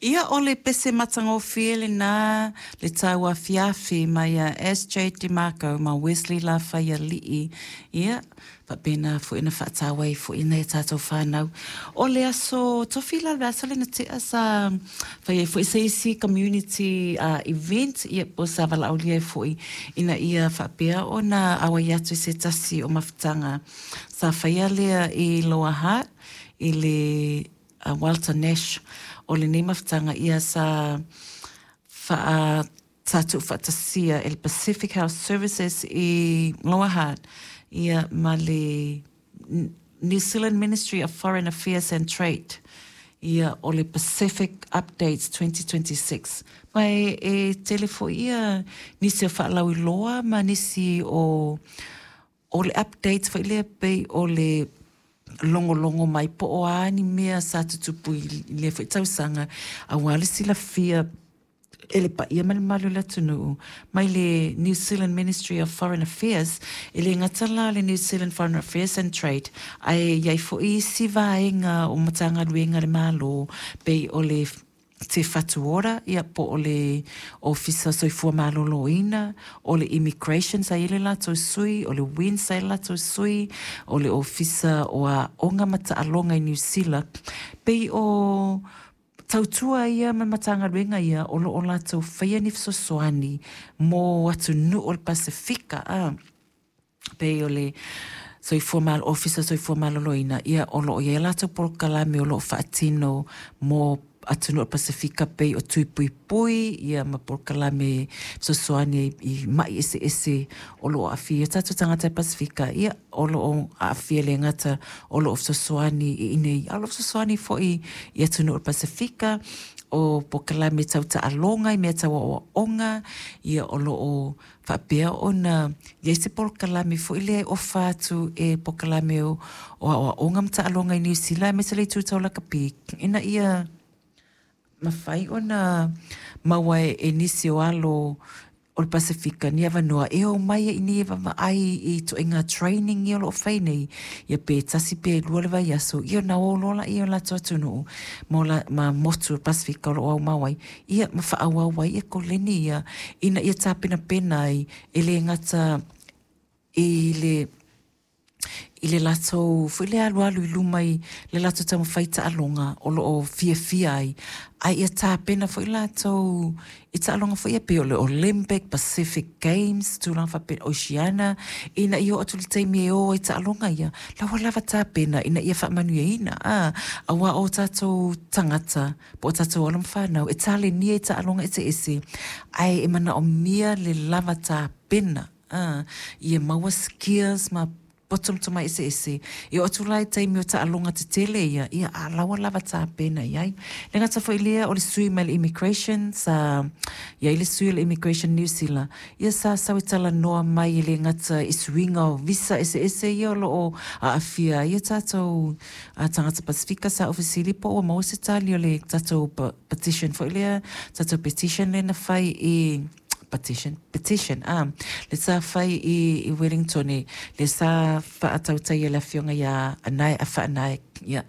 Ia, o le pese matagofie lena le tauafiafi mai a SJ DeMarco ma Wesley Lafaialii. Ia, faapena foi ona faataua ai foi nai a tatou fanau. O le aso Tofi la le vaiaso lea na tea sa fai ai foi se isi community event, ia, po sa valaaulia ai foi ina ia faapea ona auai atu i se tasi o mafutaga sa faia lea i Lower Hutt i le Walter Nash. O lenei mafutaga ia sa faa sa tuufaatasia e le Pacific Health Services i Lower Hutt, ia, ma le New Zealand Ministry of Foreign Affairs and Trade, ia, o le Pacific Updates 2026. Ma e tele foi ia nisi o faalauiloa ma nisi o le updates foi lea pei o le logologo mai po o a ni mea sa tutupu i lea foi tausaga aua le silafia e le paia ma le mamalu o le atunuu mai le New Zealand Ministry of Foreign Affairs. E le gata la le New Zealand Foreign Affairs and Trade, ae i ai foi isi vaega o Matagaluega a le Malo pei o le Te Whatu Ora, ia, po o le Ofisa Soifua Maloloina, o le Immigration sa i ai le latou sui, o le WINZ sa i ai le latou sui, o le Ofisa o Aoga ma Taaloga i Niu Sila. Pei o tautua ia ma Matagaluega ia o lo o latou faia ni fesoasoani mo atunuu o le Pasefika, a pei o le Soifua Malo, Ofisa Soifua Maloloina, ia, o lo o i ai latou polokalame o lo o faatino mo atunuu o le Pasefika pei o tui puipui, ia, ma polokalame fesoasoani i mai eseese o lo o aafia ai tatou tagata i Pasefika. Ia, o lo o aafia le gata o lo o fesoasoani i inei, a o lo o fesoasoani foi i atunuu o le Pasefika. O polokalame tau taaloga i mea tau aoaoga, ia, o lo o faapea ona i ai se polokalame foi lea e ofa atu e polokalame o aoaoga ma taaloga i Niu Sila aemaise le itu tau lakapi ina ia mafai ona maua e nisi o alo o le Pasefika ni avanoa e o mai ai nei e vaavaai i ituaiga training ia o lo o fai nei, ia, pe tasi pe lua le vaiaso, ia, ona o loa lea i o latou atunuu ma motu o le Pasefika o lo o aumau ai, ia, ma faaauau ai ia koleni ia ina ia tapenapena ai e le gata i le latou foi le alualu i luma i le latou taumafai taaloga o lo o fiafia ai, ae ia tapena foi latou i taaloga foi ia pei o le Olympic, Pacific Games, tulaga faapea, Oceania, ina ia oo atu le taimi e o ai taaloga ia, la ua lava tapena ina ia faamanuiaina, a aua o tatou tagata po o tatou alo ma fanau e talenia i taaloga eseese, ae e manaomia le lava tapena, a ia maua skills ma potomoto eseese e oo atu la i taimi o taaloga tetele ia, ia, a la ua lava tapena i ai. Le gata foi lea o le sui mai le Immigration, sa i ai le sui o le Immigration New Zealand, ia, sa sau e talanoa mai e le gata i suiga o visa eseese ia o lo o aafia ai ia tatou tagata Pasefika. Sa ou fesili po ua maua se tali o le tatou petition foi lea, tatou petition lea na fai i petition, petition a le sa fai i Wellington le sa faatautai e le afioga ia Anae Afaanae, ia.